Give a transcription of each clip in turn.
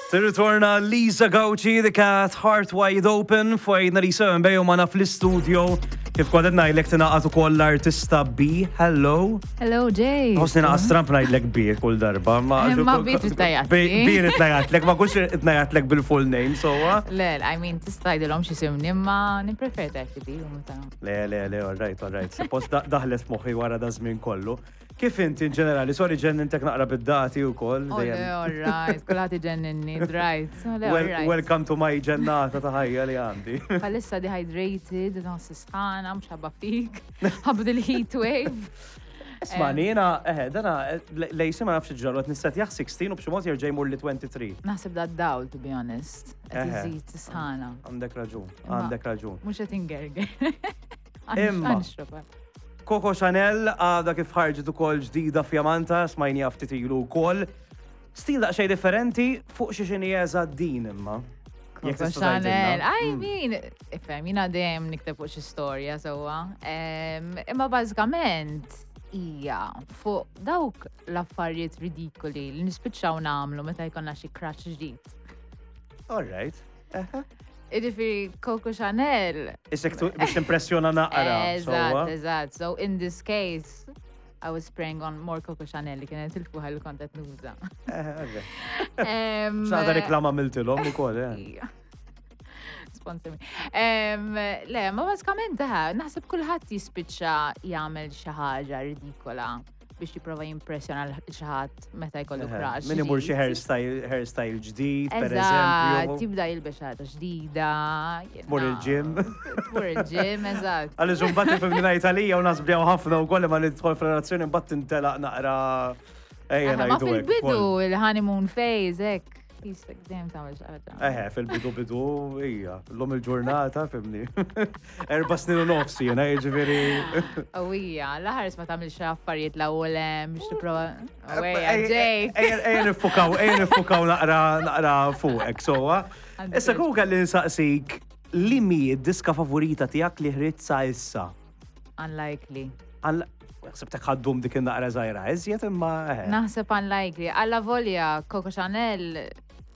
Tirritorna Lisa Gauci, The Cat, Heart Wide Open, fajna Lisa Mbejo mana fl-studio. Kif kont qed ngħidlek tingħaqad ukoll l-artista B. Hello. Hello, Jay. Ħossni naqas Trump ngħidlek B kull darba. Ma B trid tgħajjatli. B trid tgħajjatlek, ma kunx qed ngħajjatlek bil-full name, sowa. Le, I mean, tista' tgħidilhom x'isimni, imma nippreferi tgħid B u meta. Le, le, le, all right, all right. Suppost daħlet f'moħħi wara da żmien kollu. Kif inti in ġenerali? Sorry ġennintek naqra bid-dati u koll. Oh, le, all right, kulħadd iġenninni, right. Le, all right. Welcome to my ġennata ta' ħajja li għandi. Bħalissa dehydrated, nħoss sħana, mhux ħabba fik, ħabba dil-heat wave. Isma' jiena, eħe, dana, lejsi ma nafx ġralu, qed nissetjaħ 16 u b'xi mod jerġa' jmur li 23. Naħseb da dawl, to be honest. Qed iżid sħana. Għandek raġun, għandek raġun. Mhux qed ingerger. Imma. Coco Chanel għadha kif ħarġet ukoll ġdida fjamanta, smajniha ftit ilu wkoll. Stil daqsxejn differenti fuq xi xini eżatt din imma. Coco Chanel, I mm. mean, ifhem, jina dejjem nikteb fuq xi storja sewwa. Imma bażikament hija fuq dawk l-affarijiet ridikoli li nispiċċaw nagħmlu meta jkollna xi crush ġdid. All right. Iġifiri, Coco Chanel. Isek biex timpressjona naqra. Eżatt, eżatt. So in this case, I was spraying on more Coco Chanel li kienet il-fuħa li kont qed nuża. Xaħda reklama miltilhom ukoll, eh. Sponsor me. Le, ma bażikament naħseb kulħadd jispiċċa jagħmel xi ħaġa ridikola biex jipprova jimpressjona l xi ħadd meta jkollu crush. Min imur xi hairstyle, hairstyle ġdid, per eżempju. Tibda jilbes ħaġa ġdida. Tmur il-gym. Tmur il-gym, eżatt. Għaliex imbagħad ifhimni ngħid għalija u nasbjaw ħafna wkoll imma nidħol f'relazzjoni mbagħad tintelaq naqra. Ejja Ma fil-bidu il-honeymoon phase hekk. Jistek dejjem tagħmel xi ħaġa. Eħe, fil-bidu bidu, hija, l-lum il-ġurnata, fimni. 4 snin u nofs jiena, jiġifieri. Qawwija, l-aħħar ma tagħmilx affarijiet l-ewwel hemm biex tipprova. Ejja, Jake. Ejja nifukaw, ejja nifukaw naqra naqra fuqek, sowa. Issa kieku kelli nsaqsik li mi d-diska favorita tiegħek li ħriġt sa issa? Unlikely. Ħsibtek ħaddum dik in-naqra żgħira iżjed imma. Eh. Naħseb unlikely. Alla volja Coco Chanel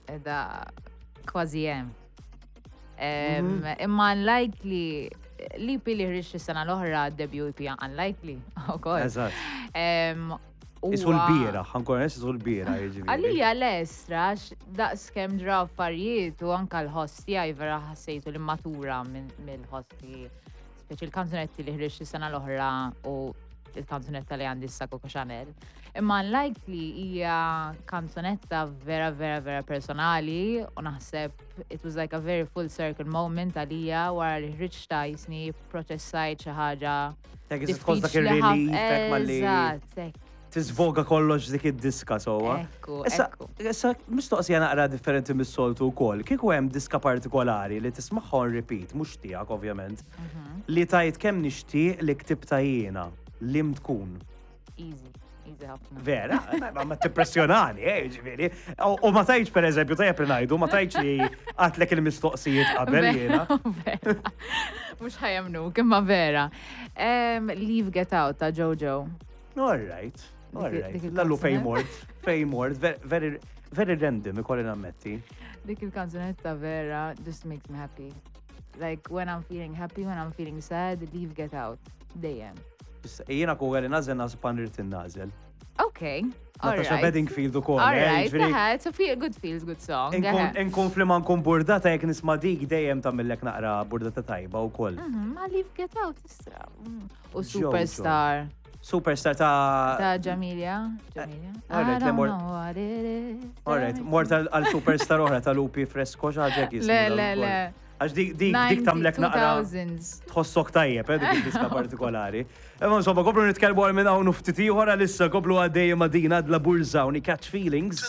edha kważi hemm. Mhm. Imma unlikely l-EP li ħriġt is-sena l-oħra debut EP unlikely ukoll. Eżatt. Isu l-bira, ħankun isu l-bira jiġifieri. Għalija l-estra, daqs kemm ġraw affarijiet u anka l-ħoss tiegħi vera ħassejtu li matura mill-ħoss speċi il-kanzunetti li ħriġt is-sena l-oħra u il-kanzunetta li għandi issa Coco Chanel. Imma Unlikely hija kanzunetta vera vera vera personali u naħseb it was like a very full circle moment għalija wara li ħriġta jisni proċessajt xi ħaġa. Hekk tħoss dak ir-relief hekk malli. Eżatt, hekk. Tiżvoga kollox dik id-diska sewwa. Ekku, Issa, ekku. issa mistoqsija naqra differenti mis-soltu wkoll. Kieku hemm diska partikolari li tismagħha on repeat, mhux tiegħek ovvjament, li tajt kemm nixtieq li ktibta jiena, lim tkun. Easy, easy ħafna. Vera, ma ma tippressjonani, eh, ġifieri. U ma tajtx per eżempju, tajjeb li ngħidu, ma tajtx li għatlek il-mistoqsijiet qabel jiena. Vera. Mhux ħa jemmnuk, imma vera. Leave Get Out ta' Jojo. All right, all right. Lallu fej mort, fej mort, very, very random, ikolli nammetti. Dik il-kanzunetta vera just makes me happy. Like when I'm feeling happy, when I'm feeling sad, leave get out. Dejjem. Jiena ku għalli nażel nażel pan irrid nażel. Okay. Natasha Bedingfield u kol. All eh, right, it's a feel, good feels good song. Inkun fli ma nkun burdata jek nisma dik dejjem tagħmillek naqra burdata tajba u koll. Ma leave get out istra. U Superstar. Superstar ta' Ta' Jamelia. Jamelia. All right, I don't know what it is. All right, mort għal superstar oħra ta' Lupi Fresco xaġek jismu. Le, le, le. Għax dik dik dik tagħmlek naqra tħossok tajjeb, eh, dik id-diska partikolari. Imma insomma, komplu nitkellmu għal minn hawn u ftit ieħor għalissa komplu għaddej ma' din għadla Burza u Catch Feelings.